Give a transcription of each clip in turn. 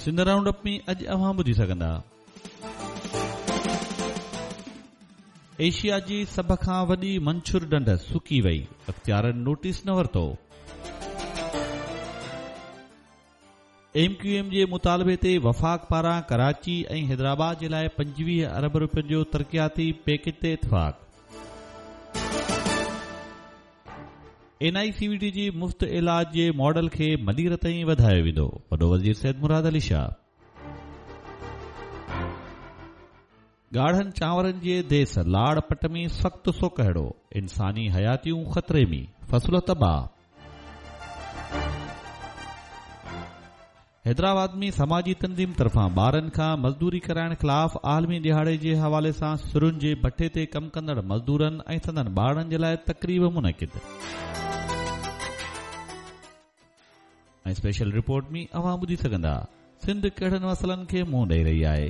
Sindh round up ۾ اڄ اوهان ٻڌي سگهندا. ايشيا جي سڀ کان وڏي منڇر ڍنڍ سڪي وئي، اختيارن نوٽيس نه ورتو. ايم ڪيو ايم جي مطالبي تي وفاق پاران ڪراچي ۽ حيدرآباد جي لاء 25 ارب رپين جو ترقياتي پيڪيج تي اتفاق. N I C V D جي مفت علاج جي ماڊل کي ملير تائين وڌايو ويندو، وڏو وزير سيد مراد علي شاهه. ڳاڙهن چانورن جي ديس لاڙ پٽ ۾ سخت سوڪهڙو، انساني حياتيون خطري ۾، فصل تباهه. حيدرآباد ۾ سماجي تنظيم طرفان ٻارن کان مزدوري ڪرائڻ خلاف عالمي ڏهاڙي جي حوالي سان سرن جي بٺي تي ڪم ڪندڙ مزدورن ۽ سندن ٻارڙن جي لاء تقريب منعقد. ۽ اسپيشل رپورٽ ۾ اوهان ٻڌي سگهندا سنڌ ڪهڙن مسئلن کي منهن ڏئي رهي آهي.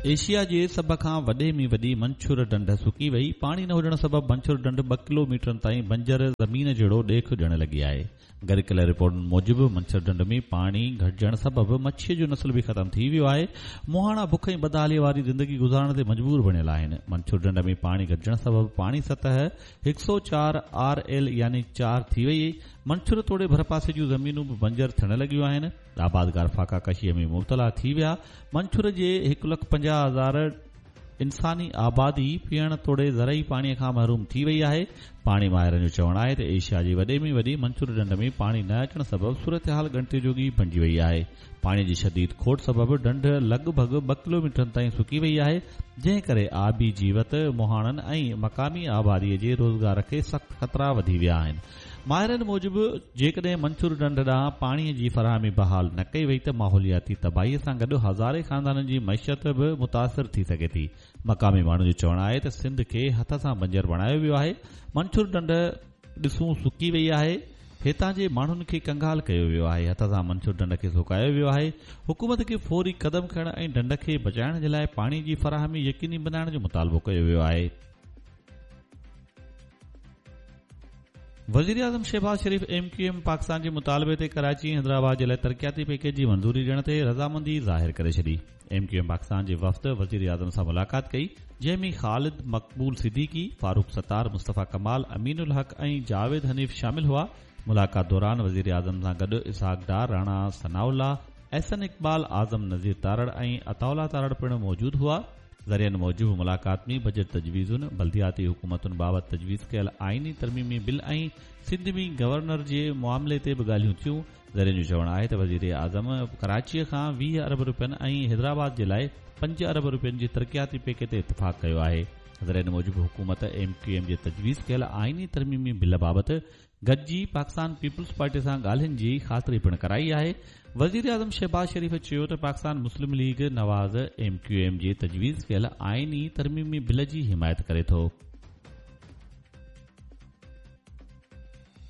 ايشيا جي سڀ کان وڏي ۾ وڏي منڇر ڍنڍ سڪي وئي، پاڻي نه هجڻ سبب منڇر ڍنڍ ٻه ڪلو ميٽرن تائين بنجر زمين جهڙو ڏيک ڏيڻ لڳي آهي. گڏ ڪيل رپورٽن موجب منڇر ڍنڍ ۾ پاڻي گهٽجڻ سبب مڇيء جو نسل به ختم ٿي ويو آهي، مهاڻا بک ۽ بدحاليء واري زندگي گذارڻ تي مجبور بڻيل آهن. منڇر ڍنڍ ۾ پاڻي گهٽجڻ سبب پاڻي سطح هڪ سئو چار آر ايل يعني چار ٿي وئي. منڇر توڙي ڀرپاسي جون زمينون به بنجر ٿيڻ لڳيون آهن. آبادگار فاقا ڪشيء ۾ مبتلا ٿي ويا. منڇر جي هڪ لک 50,000 انساني آبادي پيئڻ توڙي زرعي پاڻي کان محروم ٿي وئي آهي. پاڻي ماهرن جو چوڻ آهي ته ايشيا جي وڏي ۾ وڏي منڇر ڍنڍ ۾ پاڻي نه اچڻ سبب صورتحال ڳڻتي جوڳي بڻجي وئي آهي. پاڻي جي شديد کوٽ سبب ڍنڍ لڳ ڀڳ ٻه ڪلوميٽرن تائين سڪي وئي آهي، جنهن ڪري آبي جيوت، مهاڻن ۽ مقامي آبادي جي روزگار کي سخت خطرا وڌي ويا آهن. ماهرن موجب جيڪڏهن منڇر ڍنڍ ڏانهن پاڻي جي فراهمي بحال نه ڪئي وئي ته ماحولياتي تباهي سان گڏ هزارين خاندانن جي معيشت به متاثر ٿي سگهي ٿي. مقامي ماڻهن جو چوڻ آهي ته سنڌ کي هٿ سان بنجر بڻايو ويو آهي، منڇر ڍنڍ ڏسون سڪي وئي آهي، هتان جي ماڻهن کي ڪنگال ڪيو ويو آهي، هٿ سان منڇر ڍنڍ کي سڪايو ويو آهي، حڪومت کي فوري قدم کڻڻ ۽ ڍنڍ کي بچائڻ جي لاء پاڻي جي فراهمي يقيني بنائڻ جو مطالبو ڪيو ويو آهي. وزيراعظم Shehbaz Sharif M Q M Pakistan جي مطالبي تي ڪراچي ۽ حيدرآباد جي لاء ترقياتي پيڪيج جي منظوري ڏيڻ تي رضامندي ظاهر ڪري ڇڏي. ايم ڪيو ايم پاڪستان جي وفد وزيراعظم سان ملاقات ڪئي جنهن ۾ خالد مقبول صديقي، فاروق ستار، مصطفيٰ ڪمال، امين الحق ۽ جاويد حنيف شامل هئا. ملاقات دوران وزيراعظم سان گڏ اسحاق ڊار، راڻا ثناء الله، احسن اقبال، اعظم نذير تارڙ ۽ عطاء الله تارڙ پڻ موجود هئا. ذريعن موجب ملاقات ۾ بجيٽ تجويزن، بلدياتي حڪومتن بابت تجويز ڪيل آئيني ترميمي بل ۽ سنڌ ۾ گورنر جي معاملي تي به ڳالهيون ٿيون. ذريعن جو چوڻ آهي ته وزيراعظم ڪراچيء کان 20 ارب رپين ۽ حيدرآباد جي لاء 5 ارب رپين جي ترقياتي پيڪيج تي اتفاق ڪيو آهي. ذريعن موجب حڪومت ايم ڪيو ايم جي تجويز ڪيل آئيني ترميمي بل بابت گڏجي پاڪستان پيپلز پارٽي سان ڳالهين جي خاطري پڻ ڪرائي آهي. وزيراعظم شهباز شريف چيو ته Pakistan Muslim League Nawaz M Q M جي تجويز ڪيل آئيني ترميمي بل جي حمايت ڪري ٿو.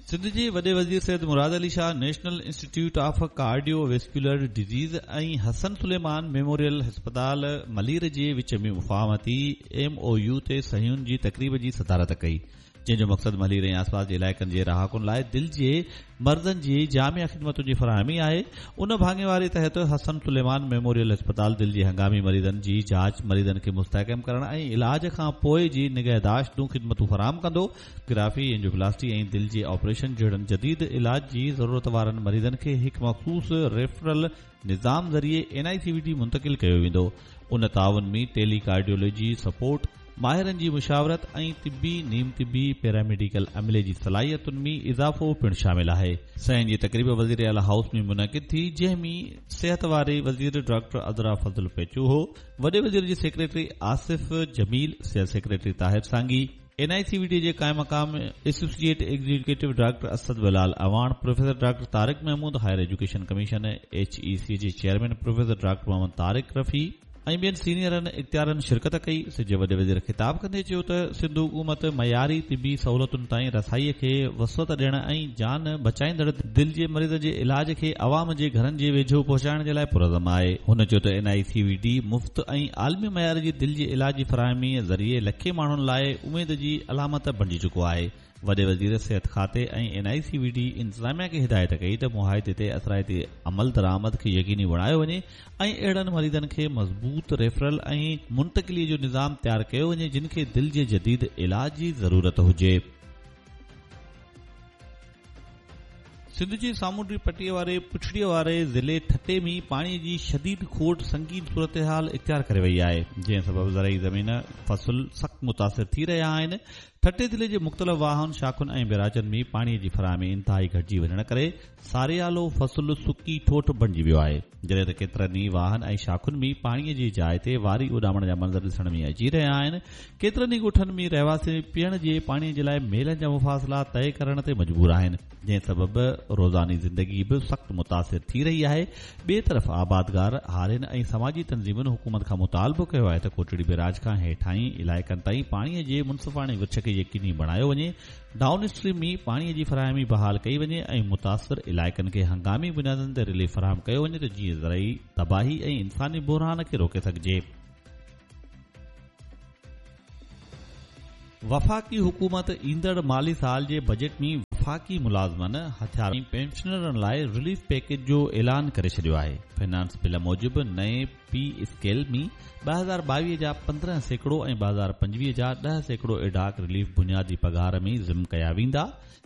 سنڌ جي وڏي وزير Syed Murad Ali Shah national institute of cardiovascular disease ۽ Hassan Suleman memorial اسپتال ملير جي وچ ۾ مفاهمتي ايم او يو تي صحيحن جي تقريب جي صدارت ڪئي. جنهن جو مقصد ملير ۽ آسپاس جي علائقن جي رهاڪن لاء دل جي مرضن جي جامع خدمتن جي فراهمي آهي. ان ڀاڱيواري تحت حسن سليمان ميموريل اسپتال دل جي هنگامي مريضن جي جاچ، مريضن کي مستحڪم ڪرڻ ۽ علاج کان پوء جي نگهداشت جون خدمتون فراهم ڪندو. گرافي، اينجوپلاسٽي ۽ دل جي آپريشن جهڙن جديد علاج جي ضرورت وارن مريضن کي هڪ مخصوص ريفرل نظام ذريعي N I C V D منتقل ڪيو ويندو. ان تعاون ۾ ٽيلي ڪارڊيولوجي سپورٽ، ماهرن جي مشاورت ۽ طبي، نيم طبي، پيراميڊيڪل عملي جي صلاحيتن ۾ اضافو پڻ شامل آهي. صحيحن جي تقريب وزيراعليٰ هائوس ۾ منعقد ٿي، جنهن ۾ صحت واري وزير ڊاڪٽر عذرا فضل پيچوهو، وڏي وزير جي سيڪريٽري آصف جميل، صحت secretary Tahir Sangi, N I C V D جي قائم مقام associate executive doctor Asad Bilal Awan, professor doctor Tariq Mehmood, higher education commission, H E C, جي chairman professor doctor Muhammad Tariq Rafi ۽ ٻين سينيئرن اختيارين شرڪت ڪئي. سنڌ جي وڏي وزير خطاب ڪندي چيو ته سنڌ حڪومت معياري طبي سهولتن تائين رسائي کي وسعت ڏيڻ ۽ جان بچائيندڙ دل جي مريضن جي علاج کي عوام جي گهرن جي ويجهو پهچائڻ جي لاء پرعزم آهي. هن چيو ته N I C V D مفت ۽ عالمي معيار جي دل جي علاج جي فراهمي ذريعي لکين ماڻهن لاء اميد جي علامت بڻجي چڪو آهي. وڏي وزير صحت کاتي ۽ N I C V D انتظاميا کي هدايت ڪئي ته معاهدي تي اثرائتي عملدرآمد کي يقيني بڻايو وڃي ۽ اهڙن مريضن کي مضبوط ريفرل ۽ منتقلي جو نظام تيار ڪيو وڃي جن کي دل جي جديد علاج جي ضرورت هجي. سنڌ جي سامونڊي پٽي واري پڇڙيء واري ضلعي ٺٽي ۾ پاڻي جي شديد کوٽ سنگين صورتحال اختيار ڪري وئي آهي، جنهن سبب زرعي زمين فصل سخت متاثر ٿي رهيا آهن. ٺٽي ضلعي جي مختلف واهن، شاخن ۽ بئراجن ۾ پاڻي جي فراهمي انتهائي گهٽجي وڃڻ ڪري ساريالو فصل سڪي ٺوٺ بڻجي ويو آهي، جڏهن ته ڪيترن ئي واهن ۽ شاخن ۾ پاڻي جي جاء تي واري اڏامڻ جا منظر ڏسڻ ۾ اچي رهيا آهن. ڪيترن ئي ڳوٺن ۾ رهواسي پيئڻ جي پاڻي جي لاء ميلن جا مفاصلا طئي ڪرڻ تي مجبور آهن، جنهن سبب روزاني زندگي به سخت متاثر ٿي رهي آهي. ٻئي طرف آبادگار، هارين ۽ سماجي تنظيمن حڪومت کان مطالبو ڪيو آهي ته ڪوٽڙي بئراج کان هيٺاهين علائقن تائين پاڻي جي منصفاڻي ورڇ کي يقيني بڻايو وڃي، ڊائون اسٽريم ۾ پاڻي جي فراهمي بحال ڪئي وڃي ۽ متاثر علائقن کي هنگامي بنيادن تي رليف فراهم ڪيو وڃي ته جيئن زرعي تباهي ۽ انساني بحران کي روڪي سگهجي. وفاقي حڪومت ايندڙ مالي سال جي بجيٽ ۾ وفاقي ملازمن، هٿيار ۽ پينشنرن لاء رليف پيڪيج جو اعلان ڪري ڇڏيو آهي. فنانس بل موجب نئين پي اسڪيل ۾ 2022 جا 15% ۽ 2025 جا 10% ايڊهاڪ رليف بنيادي پگهار ۾ ضم ڪيا ويندا.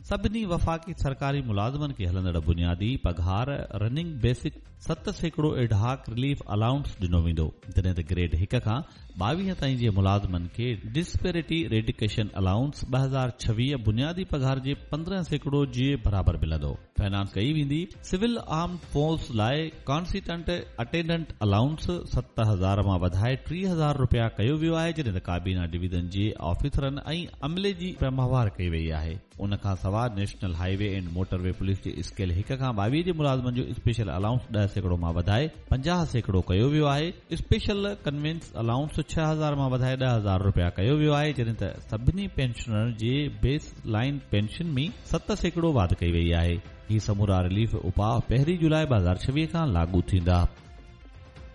سڀني وفاقي سرڪاري ملازمن کي هلندڙ بنيادي پگهار running basic 7% ad hoc relief allowance ڏنو ويندو، جڏهن ته گريڊ هڪ کان 22 تائين جي ملازمن کي ڊسپيرٽي ريڊڪشن الائونس 2026 بنيادي پگهار جي 15% جي برابر ملندو. فنانس ڪئي ويندي. سول آرمڊ فورس لاء ڪانسٽنٽ اٽينڊنٽ الائونس 7000 مان وڌائي 30,000 رپيا ڪيو ويو آهي، جڏهن ته ڪابينا ڊويزن جي آفيسرن ۽ عملي جي ماهوار ڪئي وئي آهي. ان کان سواء national highway and motorway police جي اسڪيل هڪ کان 22 جي ملازمن جو اسپيشل الائونس 10% مان وڌائي 50% ڪيو ويو آهي، اسپيشل ڪنوينس الائونس 6000 مان وڌائي 10,000 رپيا ڪيو ويو آهي، جڏهن ته سڀني پينشنرن جي بيس لائين پينشن ۾ 7% واڌ ڪئي وئي آهي. هي سمورا رليف اپاء پهرين جولاء 2026 کان لاڳو ٿيندا.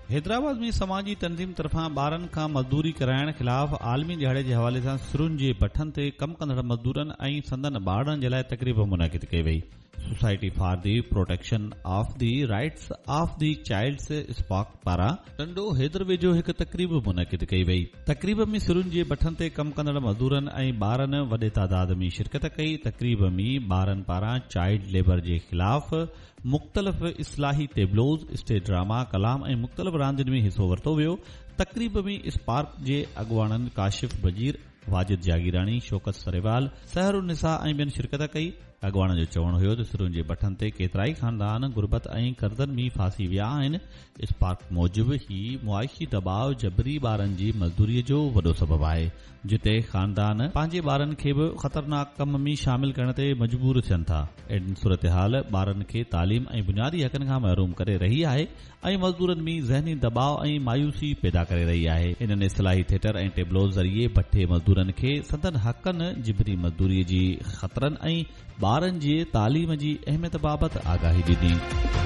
حيدرآباد ۾ سماجي تنظيم طرفان ٻارن کان مزدوري ڪرائڻ خلاف عالمي ڏهاڙي جي حوالي سان سرن جي بٺن تي ڪم ڪندڙ مزدورن ۽ سندن ٻارڙن جي لاء تقريب منعقد ڪئي وئي. Society for the protection of the rights of the childs SPARC پاران ٽنڊو حيدر ويجهو هڪ تقريب منعقد ڪئي وئي. تقريب ۾ سرن جي بٺن تي ڪم ڪندڙ مزدورن ۽ ٻارن وڏي تعداد ۾ شرڪت ڪئي. تقريب ۾ ٻارن پاران چائلڊ ليبر جي خلاف مختلف اصلاحي ٽيبلوز، اسٽيج ڊراما، ڪلام ۽ مختلف راندين ۾ حصو ورتو ويو. تقريب ۾ اسپارڪ جي اڳواڻن ڪاشف بجير، واجد جاگيراڻي، شوڪت سريوال، سحر النساء ۽ ٻين شرڪت ڪئي. اڳواڻن جو چوڻ هيو ته سرن جي بٺن تي ڪيترائي خاندان غربت ۽ قرضن ۾ ڦاسي ويا آهن. اسپارڪ موجب هي معاشي دٻاء جبري ٻارن جي مزدوري جو وڏو سبب آهي. جتي خاندان پنهنجي ٻارن کي به خطرناڪ ڪم ۾ شامل ڪرڻ تي مجبور ٿين ٿا. اهڙي صورتحال ٻارن کي تعليم ۽ بنيادي حقن کان محروم ڪري رهي آهي ۽ مزدورن ۾ ذهني دٻاء ۽ مايوسي پيدا ڪري رهي آهي. انهن اصلاحي ٿيٽر ۽ ٽيبلوز ذريعي بٺي مزدورن کي سندن حقن، جبري مزدوري جي خطرن ۽ ٻارن جي تعليم جي اهميت بابت آگاهي ڏني.